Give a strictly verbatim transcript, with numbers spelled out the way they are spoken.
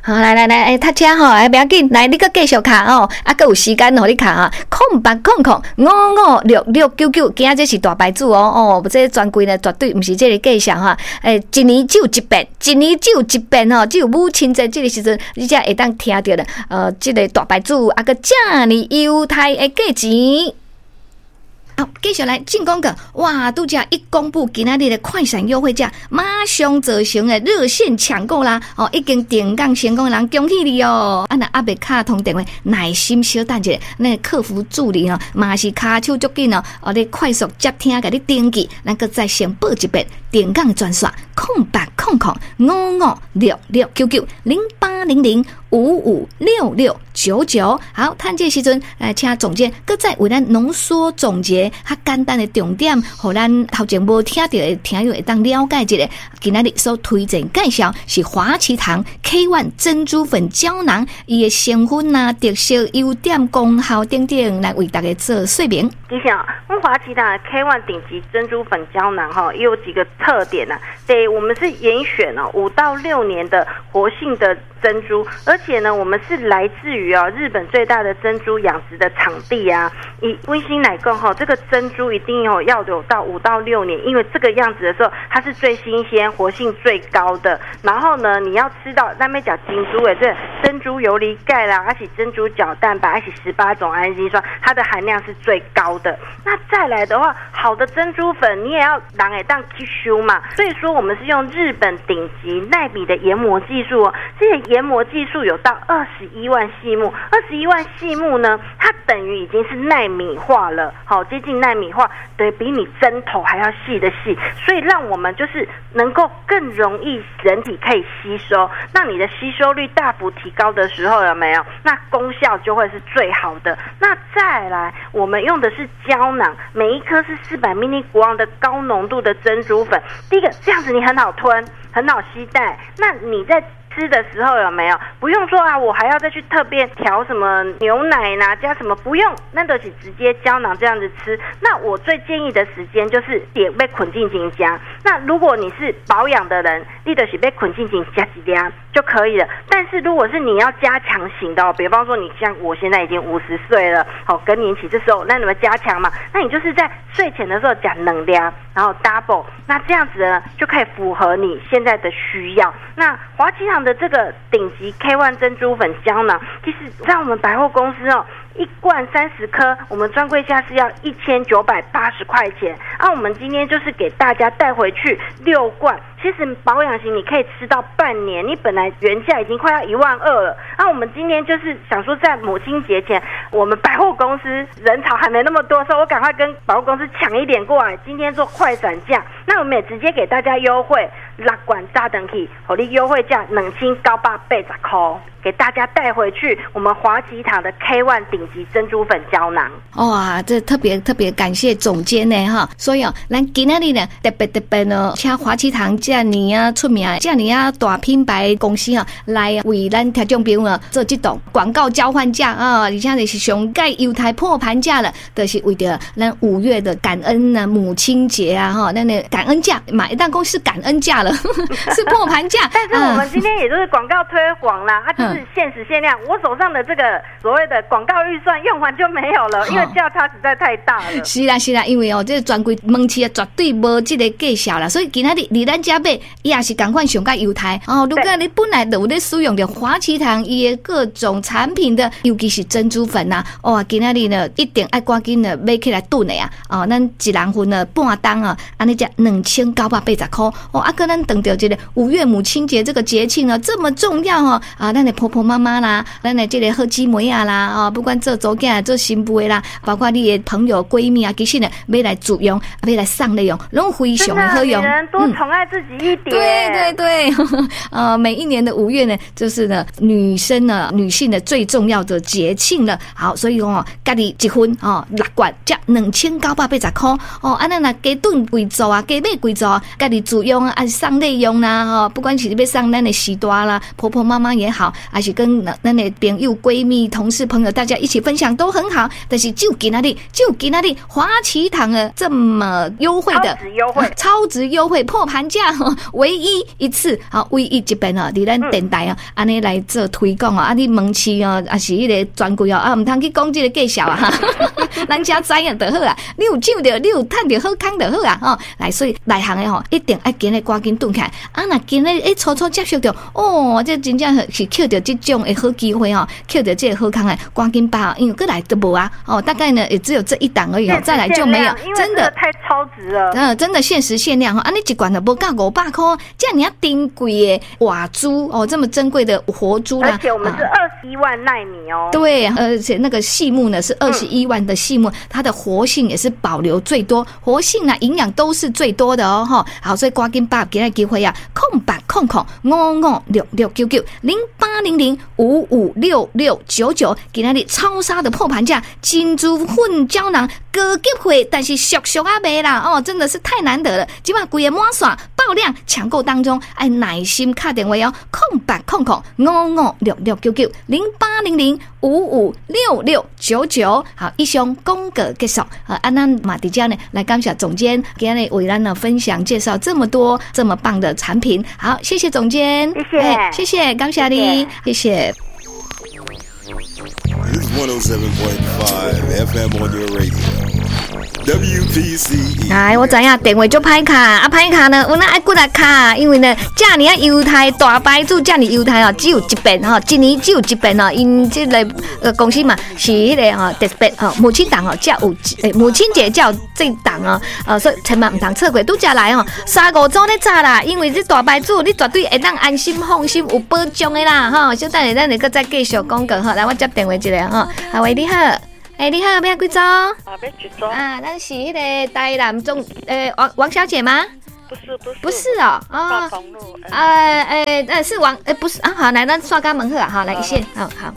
好，來來來，欸，塞車吼，欸，袂要緊，來，你閣繼續敲哦，啊，閣有時間予你敲啊，空八空空五五六六九九，今仔這是大牌子哦，哦，這專櫃呢絕對毋是這个介紹哈，欸，一年只有一遍，一年只有一遍吼，只有母親節這个時陣，你才會當聽著咧，呃，這个大牌子啊，閣遮爾優待的價錢。好，繼續來進廣告。哇，拄才一公布今仔日的快閃優惠價，馬上造成的熱線搶購啦！哦，已經訂購成功的人恭喜你哦！啊，若猶未敲通電話，耐心小等一下，咱客服助理哦，嘛是跤手足緊哦，哦，咧快速接聽，共你登記，咱閣再先報一遍訂購專線：空八空空五五六六九九零八零零五五六六九九。好，趁這個時陣來請總監閣再為咱濃縮總結較簡單的重點，予咱頭前無聽著的聽友會當了解一下。今仔日所推薦介紹是華旗堂 K One 珍珠粉膠囊，伊的成分啊、特色、優點、功效等等，來為大家做說明。其實啊，阮華旗堂 K One 頂級珍珠粉膠囊哈，也有幾個特點啊。對，我們是嚴選哦五到六年的活性的珍珠，而且呢，我們是來自於啊日本最大的珍珠養殖的場地啊。以溫馨來講哈，這個珍珠一定要要有到五到六年，因為這個樣子的時候，它是最新鮮、活性最高的。然後呢，你要吃到咱欲食珍珠的，這珍珠游離鈣啦，而且珍珠角蛋白，而且十八種氨基酸，它的含量是最高的。那再來的話，好的珍珠粉你也要人會當吸收嘛，所以說我們是用日本頂級奈米的研磨技術哦，這個研磨技術有到二十一萬細目，二十一萬細目呢，它等於已經是奈米化了，好，接近奈米化，對比你針頭還要細的細，所以讓我們就是能夠更容易人體可以吸收，那你的吸收率大幅提高的時候有沒有？那功效就會是最好的。那再來，我們用的是膠囊，每一顆是四百 milligram 的高濃度的珍珠粉。第一個這樣子你很好吞，很好攜帶。那你在吃的時候有沒有？不用說啊，我還要再去特別調什麼牛奶呢？加什麼？不用，那都是直接膠囊這樣子吃。那我最建議的時間就是點欲睏進前食。那如果你是保養的人，你就是欲睏進前食一粒就可以了。但是如果是你要加強型的哦，比方說你像我現在已經五十歲了，好更年期這時候，那你們加強嘛？那你就是在睡前的時候食兩粒，然後 double，那這樣子呢就可以符合你現在的需要。那華旗堂的這個頂級 K One 珍珠粉膠囊，其實在我們百貨公司哦，一罐三十顆，我們專櫃價是要一千九百八十塊錢。啊，我們今天就是給大家帶回去六罐。其實保養型你可以吃到半年，你本來原價已經快要一萬二了。那我們今天就是想說，在母親節前，我們百貨公司人潮還沒那麼多的時候，我趕快跟百貨公司搶一點過來。今天做快閃價，那我們也直接給大家優惠，六罐紮轉去，予你優惠價兩千九百八十塊，給大家帶回去我們華旗堂的 K One 頂級珍珠粉膠囊。哇，這特別特別感謝總監呢哈！所以哦，咱今仔日呢特別特別呢，請華旗堂遮爾啊出名、遮爾啊大品牌公司啊，來為咱聽眾朋友做這檔廣告交換價啊，而且就是上蓋優待破盤價了，就是為著咱五月的感恩呢母親節啊哈，咱的感恩價，買一單公司感恩價了，是破盤價。但是我們今天也就是廣告推廣啦，啊，就是限時限量，我手上的這個所謂的廣告預算用完就沒有了，因為價差實在太大了。是啦是啦，因為哦，這個專櫃門市啊絕對無這個介紹啦，所以今仔日佇咱遮買，伊也是仝款上蓋優待哦。如果你本來就有咧使用著華旗堂伊的各種產品的，尤其是珍珠粉呐，哇，今仔日呢一定愛趕緊呢買起來囤的啊！哦，咱一人份呢半擔啊，按呢才兩千九百八十箍哦。啊，閣咱等著這個五月母親節這個節慶啊，這麼重要哦啊，咱的婆婆媽媽啦，咱的這個好姊妹啊啦，哦，不管做查囝做新婦的啦，包括你的朋友閨蜜啊，其實呢，欲來自用，欲來送禮用，攏非常的好用。多寵愛自己一點。對對對，呃，每一年的五月呢，就是呢女生呢女性的最重要的節慶了。好，所以講哦，家己一份哦，六罐才兩千九百八十箍哦，按呢若加囤幾組啊，加買幾組，家己自用啊，還是送禮用啦，吼，不管是欲送咱的序大啦，婆婆媽媽也好，還是跟咱的朋友、閨蜜、同事、朋友大家一起分享都很好。但是就今仔日，就今仔日華旗堂的這麼優惠的超值優惠，超值優惠破盤價，吼，唯一一次，吼，唯一一遍吼，佇咱電台哦，按呢來做推廣哦，啊，你門市哦，抑是彼个專櫃哦，啊，毋通去講這个介紹啊，哈，咱遮知影就好啊。你有搶著，你有趁著好康就好啊，吼。來，所以內行的吼，一定愛今日趕緊轉起來。啊，若今日會初初接觸著，哦，這真正是抾著這種的好機會吼，抾著這个好康的，趕緊把握，因為閣來都無啊，哦，大概呢也只有這一檔而已哦，再來就沒有，真的太超值了。嗯，真的限時限量吼，啊，你一罐就無到五百箍，遮爾仔珍貴的活珠哦，這麼珍貴的活珠啦，而且我們是二十一萬奈米哦。對，而且那個細木呢是二十一萬的細木，它的活性也是保留最多，活性啊，營養都是最多的哦，哈。好，所以趕緊把握今仔機會啊，空八空空五五六六九九零八零零五五六六九九，今仔日超殺的破盤價，珍珠粉膠囊高級貨，但是俗俗仔賣啦，哦，真的是太難得了，這馬規个滿線爆量搶購當中，愛耐心敲電話哦，空八空空五五六六九九零八零零五五六六九九，好，以上廣告結束，啊，啊咱嘛佇遮呢來感謝總監今日為咱呢分享介紹這麼多這麼棒的產品，好，謝謝總監，謝謝，謝謝，感謝你，謝謝。 It's one oh seven point five F M on your radio. W P C E。來，我知影電話足歹敲，啊歹敲呢，有哪愛骨力敲，因為呢，遮爾仔猶太大牌子，遮爾猶太哦，只有一遍吼，一年只有一遍哦，𪜶這个呃公司嘛是彼个吼特別吼母親檔哦，才有欸母親節才有這檔哦，呃，所以千萬毋通錯過，拄才來吼，三五組咧早啦，因為這大牌子你絕對會當安心放心有保障的啦，吼，小等下咱會閣再繼續廣告吼，來我接電話一下吼，啊喂你好。欸，你好，欲幾組？啊，欲一組。啊，咱是彼个台南總，欸，王王小姐嗎？不是不是。不是哦，哦。大呃，欸，呃，是王，欸，不是啊，好，來，咱煞共問好啊，好，來一線，好好。